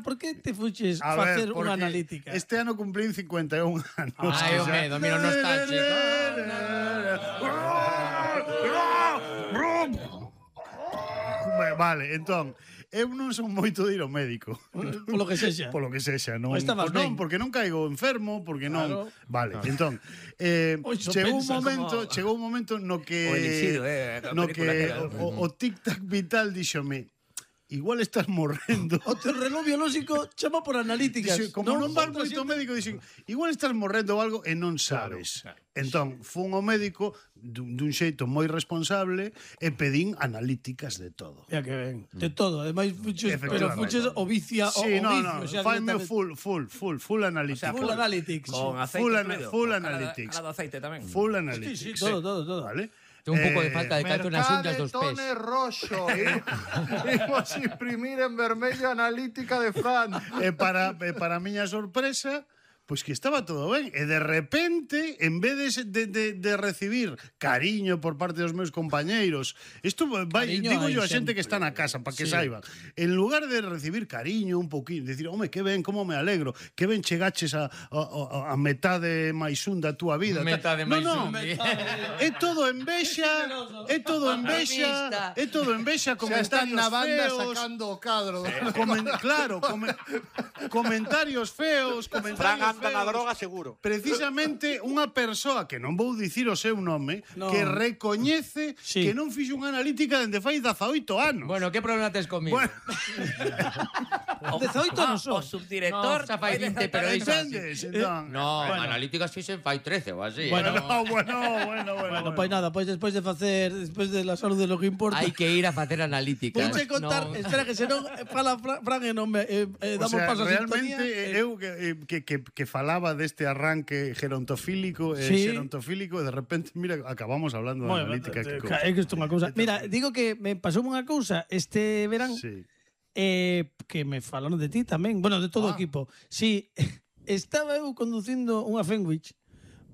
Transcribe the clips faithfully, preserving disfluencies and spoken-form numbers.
por que te fuches A facer ver, unha porque analítica? este ano cumplín cincuenta e un anos. Ai, o medo, mira o nostálgico. Vale, entón, eu non son moito de ir ao médico. Polo que sexa. Polo que sexa, non. Pois estabas Pois non, ben. porque non caigo enfermo, porque non. Claro. Vale, entón, eh, Oi, iso chegou un pensa momento, como- chegou un momento no que O elixir, eh, a no película que aquela. o, o tic-tac vital díxome, igual estás morrendo. O teu reloj biolóxico chama por analíticas. Dixe, como non vas moito ao médico, dixen, igual estás morrendo ou algo e non sabes. Claro, claro. Entón, fun ao médico dun, dun xeito moi responsable e pedín analíticas de todo. Ya que ben, de todo, ademais fuches, pero Efectivamente. fuches o vicia o, Sí, o no, vicio, no, o sea, faime directamente. full, full, full, full analytics. Full analytics. Con aceite Full ana- incluído. full Con calado- analytics. calado aceite tamén. Full Sí, analytics. sí, todo, todo, todo. Vale? Ten un pouco de Eh, falta de canto nas unhas dos pés. Mercadetone roxo. Imos imprimir en vermello a analítica de Fran. E para, e para a miña sorpresa, pois que estaba todo ben. E de repente, en vez de, de, de, de recibir cariño por parte dos meus compañeiros, isto vai, Cariño digo hai yo a xente sempre. que está na casa, para que Sí. saiban. En lugar de recibir cariño un poquinho, decir, home, que ben, como me alegro, que ben chegaches a, a, a, a metade máis un da túa vida. Metade no, máis no, un. é todo envexa, é todo envexa, é todo envexa, Xa están comentarios na banda feos. sacando o cadro. Comen, claro, come, comentarios feos, Fran comentarios anda na feos. droga seguro. Precisamente unha persoa que non vou dicir o seu nome, No. que recoñece Sí. que non fixo unha analítica dende fai dezaoito anos. Bueno, que problema tes comigo? Bueno, dezaoito non son. O subdirector. No, xa fai vinte, pero iso así. entendes? Entón, No, Bueno. analíticas fixen fai trece ou así. Bueno, eh, no, bueno, bueno, bueno. Bueno, pois nada, pois despois de facer, despois de la salud de lo que importa. Hai que ir a facer analíticas. Vouche contar, Non. espera que senón eh, fala Fran, Fran e non me eh, eh, O damos sea, paso a realmente sintonía. eh, eu que, eh, que, que, que falaba deste arranque gerontofílico e Sí. xerontofílico e de repente, mira, acabamos hablando de Bueno, analítica. eh, que cousa. é que isto é unha cousa. Mira, digo que me pasou unha cousa este verán Sí. eh, que me falaron de ti tamén, bueno, de todo o Ah. equipo. Sí, estaba eu conducindo unha Fenwich.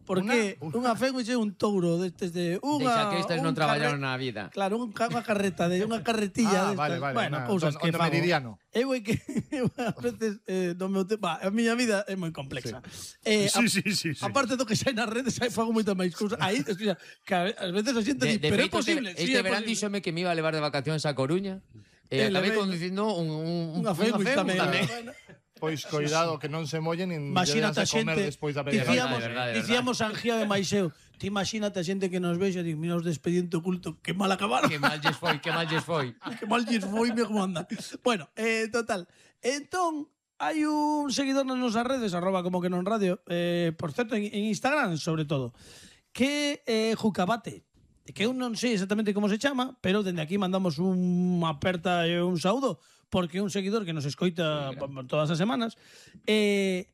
Porque unha, unha Fenwich é un touro destes de unha Deixa que estes non un traballaron carre- na vida. Claro, un, ca- unha carreta de unha carretilla Ah, destas. vale, vale, Bueno, una- cousas on- que onde fago. Meridiano. Eu é que eu a veces eh, no meu tema, a miña vida é moi complexa. Eh, Sí, a- sí, sí, sí. Aparte do que sai nas redes, aí fago moita máis cousas. Aí, escucha, que a ás veces a xente De, di, de pero é feito, posible. este, sí, este é verán posible. díxome que me iba a levar de vacacións a Coruña e Eh, acabei levei- conducindo un, un, Unha Fenwich tamén. Bueno, Pois coidado que non se mollen nin Imagínate a lle das de comer xente, despois da medianoite. dicíamos, De verdade, de verdade. dicíamos Angía de Maiseu, ti imagínate a xente que nos vexa, di, mira os de expediente oculto, que mal acabaron. Que mal lles foi, que mal lles foi. Que mal lles foi, me como andan. Bueno, eh, total. Entón, hai un seguidor nas nosas redes, arroba como que non radio, eh, por certo, en, en Instagram, sobre todo, que é eh, Jucabate, que eu non sei exactamente como se chama, pero dende aquí mandamos unha aperta e un saúdo, porque é un seguidor que nos escoita sí, todas as semanas. E,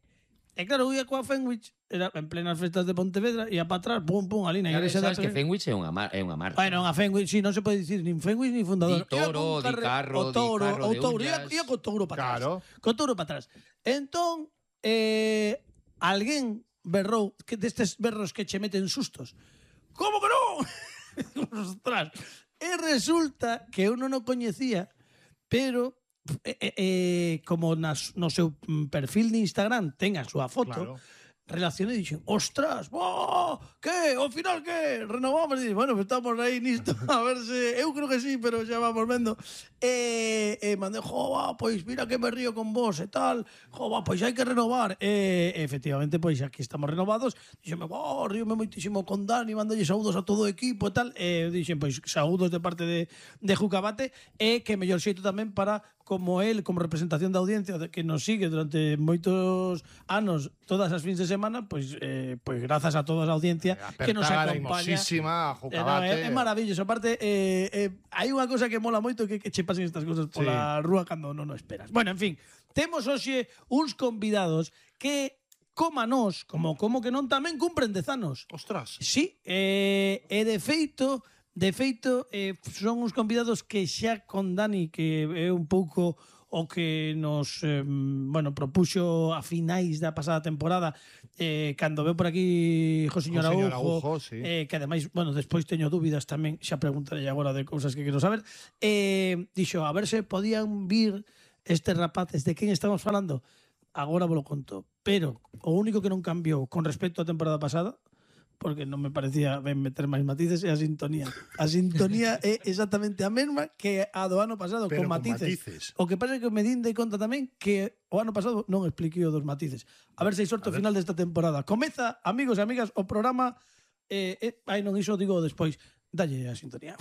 e claro, eu ia coa Fenwich, era en plenas festas de Pontevedra, ia para atrás, pum, pum, ali na igrexa da Sabes que Tre- Fenwich é unha, mar, é unha marca. Bueno, unha Fenwich, sí, non se pode dicir nin Fenwich nin fundador. Di toro, Iba con un di carro, o di touro, carro o de touro, ia, ullas. ia co touro para atrás. Claro. Co touro para atrás. Entón, eh, alguén berrou, que destes berros que che meten sustos. Como que non? Ostras. E resulta que eu non o coñecía, pero eh, eh, eh, como nas, no seu mm, perfil de Instagram ten a súa foto, Claro. relacionei e dixen, ostras, oh, que, ao final que, renovamos, e dixen, bueno, pues estamos aí nisto, a ver se, eu creo que sí, pero xa vamos vendo, e, e mandei, jo, va, pois mira que me río con vos e tal, jo, va, pois hai que renovar, e efectivamente, pois aquí estamos renovados, dixenme, oh, ríome moitísimo con Dani, mandalle saúdos a todo o equipo e tal, e dixen, pois, saúdos de parte de, de Jucabate, e que mellor xeito tamén para, como el, como representación da audiencia que nos sigue durante moitos anos, todas as fins de semana, pois, eh, pois grazas a toda a audiencia que nos Apertada acompaña. hermosísima a Eh, no, Jucabate. é, é maravilloso. Aparte, eh, eh, hai unha cosa que mola moito que, que che pasen estas cosas pola rúa cando non o esperas. Bueno, en fin, temos hoxe uns convidados que, como a nós, como, como que non tamén cumpren dez anos. Ostras. Sí, eh, e de feito, de feito eh, son uns convidados que xa con Dani, que é un pouco o que nos eh, bueno, propuxo a finais da pasada temporada, eh, cando veo por aquí Josiño Josiño Araujo, Araujo, sí. eh, que ademais, bueno, despois teño dúbidas tamén, xa preguntarei agora de cousas que quero saber, eh, dixo, a ver se podían vir Estes rapaces, de quen estamos falando? Agora vos lo conto. Pero o único que non cambiou con respecto á temporada pasada, porque non me parecía ben meter máis matices, é a sintonía. A sintonía é exactamente a mesma que a do ano pasado, Pero con con matices. matices. O que pasa é que me din de conta tamén que o ano pasado non expliquei o dos matices. A ver se hai sorte ao final desta temporada. Comeza, amigos e amigas, o programa... Eh, eh, ai, non, iso digo despois. Dalle a sintonía.